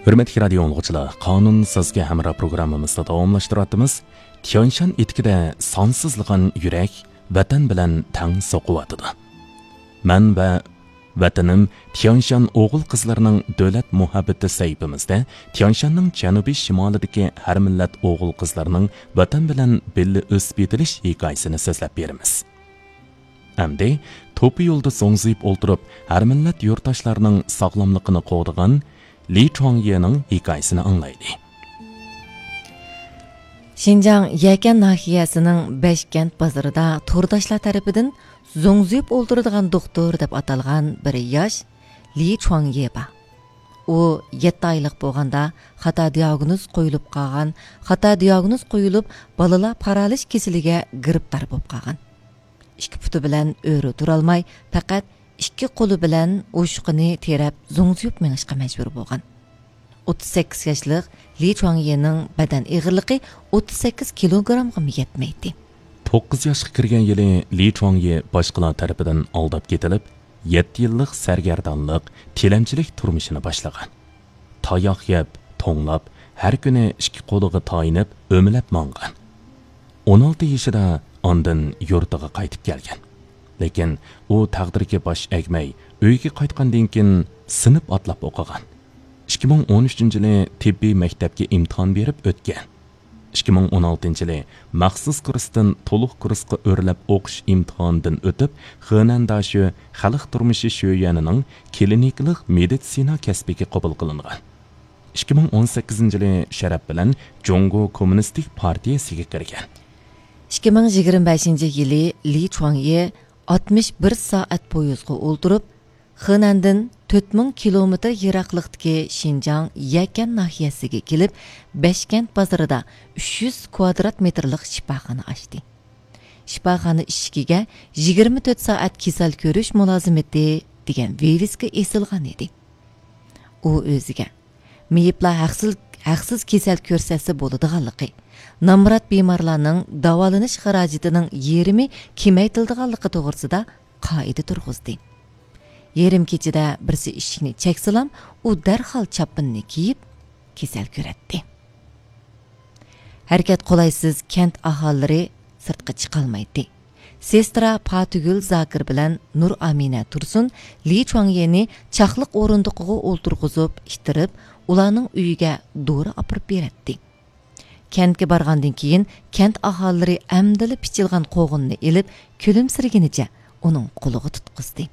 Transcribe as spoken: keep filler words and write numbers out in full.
ھۆرمەتلىك رادىيو ئاڭلىغۇچىلار، قانۇن سىزگە ھەمراھ پروگراممىمىزنى داۋاملاشتۇرۇۋاتىمىز. تيەنشان ئېتىكىدە سانسىزلىغان يۈرەك ۋەتەن بىلەن تەڭ سوقۇۋاتىدۇ. مەن ۋە ۋەتىنىم تيەنشان ئوغۇل-قىزلىرىنىڭ دۆلەت مۇھەببىتى سەھىپىمىزدە تيەنشاننىڭ جەنۇبىي شىمالىدىكى ھەر مىللەت ئوغۇل-قىزلىرىنىڭ ۋەتەن بىلەن بىللە ئۆسۈپ يېتىلىش ھېكايىسىنى سۆزلەپ بېرىمىز. ئەمدى توپا يولدا زوڭزىيىپ ئولتۇرۇپ، ھەر مىللەت يۇرتداشلارنىڭ ساغلاملىقىنى قوغدىغان لى چۇاڭيېنىڭ ھېكايىسىنى ئاڭلايلى. شىنجاڭ يەكەن ناھىيەسىنىڭ بەشكەنت بازىرىدا تورداشلار تەرىپىدىن زوڭزىيىپ ئولتۇرىدىغان دوختۇر دەپ ئاتالغان بىر ياش لى چۇاڭيې بار. ئۇ يەتتە ئايلىق بولغاندا خاتا دىئاگنوز قويۇلۇپ قالغان، خاتا دىئاگنوز قويۇلۇپ، بالىلار پارالىچ كېسىلىگە گىرىپتار بولۇپ قالغان. ئىككى پۇتى بىلەن ئۆرە تۇرالماي، پەقەت ئىككى قولى بىلەن ئوشۇقىنى تىرەپ، زوڭزىيىپ مېڭىشقا مەجبۇر بولغان. ئوتتۇز سەككىز ياشلىق لى چۇاڭيېنىڭ بەدەن ئېغىرلىقى ئوتتۇز سەككىز كىلوگرامغىمۇ يەتمەيتتى. توققۇز ياشقا كىرگەن يىلى لى چۇاڭيې باشقىلار تەرىپىدىن ئالداپ كېتىلىپ، يەتتە يىللىق سەرگەردانلىق، تىلەمچىلىك تۇرمۇشىنى باشلىغان. تاياق يەپ، توڭلاپ، ھەر كۈنى ئىككى قولىغا تايىنىپ ئۆمىلەپ ماڭغان. ئون ئالتە يېشىدا ئاندىن يۇرتىغا قايتىپ كەلگەن. لېكىن ئۇ تەقدىرگە باش ئەگمەي، ئۆيىگە قايتقاندىن كېيىن سىنىپ ئاتلاپ ئوقۇغان. ئىككى مىڭ ئون ئۈچىنچى يىلى تېببىي مەكتەپكە ئىمتىھان بېرىپ ئۆتكەن. ئىككى مىڭ ئون ئالتىنچى يىلى مەخسۇس كۇرستىن تولۇق كۇرسقا ئۆرلەپ ئوقۇش ئىمتىھانىدىن ئۆتۈپ، خېنەن داشۆ خەلق تۇرمۇشى شۆيۈەنىنىڭ كلىنىكىلىق مېدىتسىنا كەسپىگە قوبۇل قىلىنغان. ئىككى مىڭ ئون سەككىزىنچى يىلى شەرەپ بىلەن جۇڭگو كوممۇنىستىك پارتىيەسىگە كىرگەن. ئىككى مىڭ يىگىرمە بەشىنچى يىلى لى چۇاڭيې ئاتمىش بىر سائەت پويىزغا ئولتۇرۇپ، خېنەندىن تۆت مىڭ كىلومېتىر يىراقلىقتىكى شىنجاڭ يەكەن ناھىيەسىگە كېلىپ، بەشكەنت بازىرىدا ئۈچ يۈز كۋادرات مېتىرلىق شىپاخانا ئاچتى. شىپاخانا ئىشىكىگە «يىگىرمە تۆت سائەت كېسەل كۆرۈش مۇلازىمىتى» دېگەن ۋىۋىسكا ئېسىلغان ئىدى. ئۇ ئۆزىگە مېيىپلار ھەقسىز، ھەقسىز كېسەل كۆرسەتسە بولىدىغانلىقى، نامرات بىمارلارنىڭ داۋالىنىش خىراجىتىنىڭ يېرىمى كېمەيتىلىدىغانلىقى توغرىسىدا قائىدە تۇرغۇزدى. يېرىم كېچىدە بىرسى ئىشىكنى چەكسىلام، ئۇ دەرھال چاپىنىنى كىيىپ، كېسەل كۆرەتتى. ھەرىكەت قولايسىز كەنت ئاھالىلىرى سىرتقا چىقالمايتتى. سېسترا پاتىگۈل زاكىر بىلەن نۇر ئامىنە تۇرسۇن لى چۇاڭيېنى چاقلىق ئورۇندۇقىغا ئولتۇرغۇزۇپ، ئىتتىرىپ، ئۇلارنىڭ ئۆيىگە دورا ئاپىرىپ بېرەتتى. كەنتكە بارغاندىن كېيىن، كەنت ئاھالىلىرى ئەمدىلا پىچىلغان قوغۇننى ئېلىپ، كۈلۈمسىرىگىنىچە ئۇنىڭ قولىغا تۇتقۇزدى.